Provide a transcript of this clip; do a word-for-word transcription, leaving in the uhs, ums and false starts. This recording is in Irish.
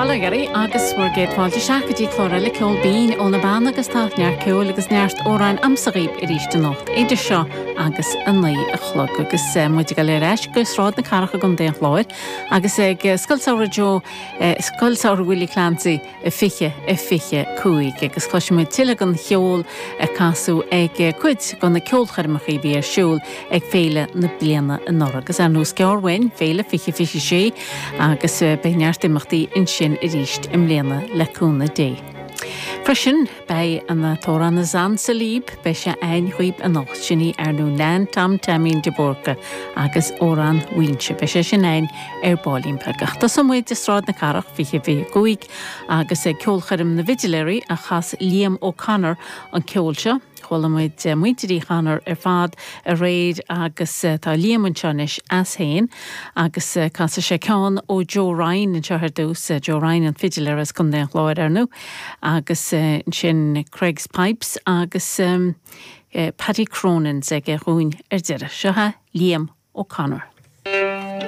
Bail ó Dhia oraibh agus bhur gcéad fáilte isteach go dtí clár eile Ceol Binn ó na Beanna agus tá neart ceoil agus neart amhráin a'msa dhaoib arís anocht idir seo agus a naoi a chlog agus eh, muid ag dul ar ais go Sráid na Cathrach i gContae an Chláir agus ag eh, Scoil Samhraidh Joe eh, Scoil Samhraidh Willie Clancy a fiche a fiche cúig agus cloisfimid tuilleadh den cheol a casadh ag cuid de na ceolchoirmeacha a bhí ar siúl ag féile na bliana anuraidh agus ar nós gearr uainn féile fiche fiche sé agus beidh neart imeachtaí ansin arís i mbliana le cúnamh Dé. Freisin beidh an t-amhrán Is Ansa Líb beidh sé againn dhaoib anocht sin í ar ndóigh Nan Tom Taimín de Búrca agus amhrán Mhaínse beidh sé sin againn ar baillín beag. Tosóidh muid i Sráid na Cathrach fiche fiche cúig agus ag ceolchoirm na bhfidiléirí a chas Liam O'Connor an ceol seo. Chuala muid muintir Uí Chonchúir ar fad aréir agus tá Liam anseo anois as féin agus casfaidh sé ceann ó Joe Ryan anseo ar dtús Joe Ryan an fidiléir as Contae an Chláir ar ndóigh agus sin Creggs Pipes agus um, Paddy Cronin's aige dhúinn ar deireadh. Seo é Liam O'Connor.